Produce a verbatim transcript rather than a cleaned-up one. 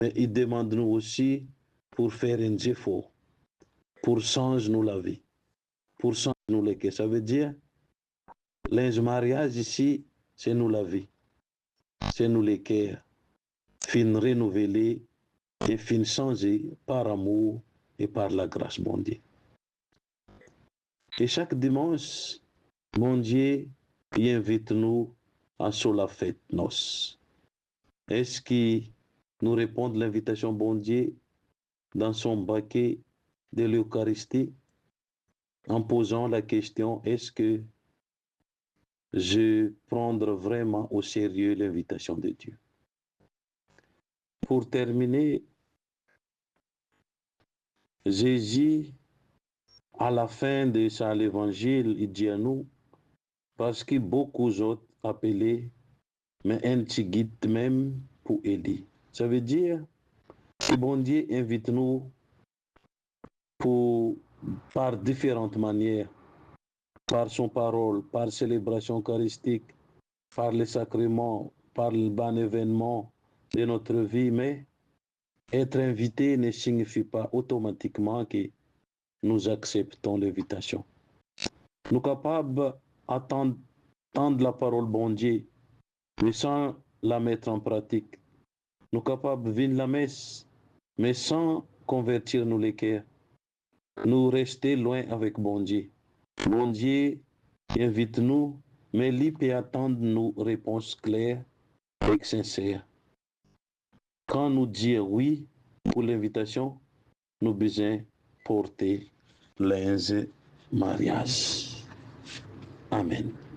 Me li demann nou osi pou fer enn zefor, pou sanz nou lavi, pou sanz nou leker. Savedir, linz maryaz isi, se nou lavi, se nou leker, finn renouvele e finn sanze par amour e par lagras Bondie. E sak dimans, Bondie, li invit nou a so lafet nos. Eski nou reponn linvitasion Bondie dan son bake de l'Eucharistie, an pozan lakestion, eski je prendre vraiment au sérieux l'invitation de Dieu? Pou termine, Zezi, a lafin de sa levanzil, li dir nou, parski boukou zot apele, me enn tigit mem pou eli. Savedir ki Bondie invit nou pou, par diferan manier, par son parol, par selebrasion eukaristik, par lesakreman, par bann evennman de notre vie, me etre invite ne signifi pa otomatikman ki nou aksepton linvitasion. Nou kapav atann, tann laparol Bondie, me san la met an pratik. Nou kapav vinn lames, me san konvertir nou leker. Nou reste lwin avek Bondie. Bondie invit nou, me li pe atann nou repons kler ek sinser. Kan nou dir wi pou linvitasion, nou bizin porte linz maryaz. Amen.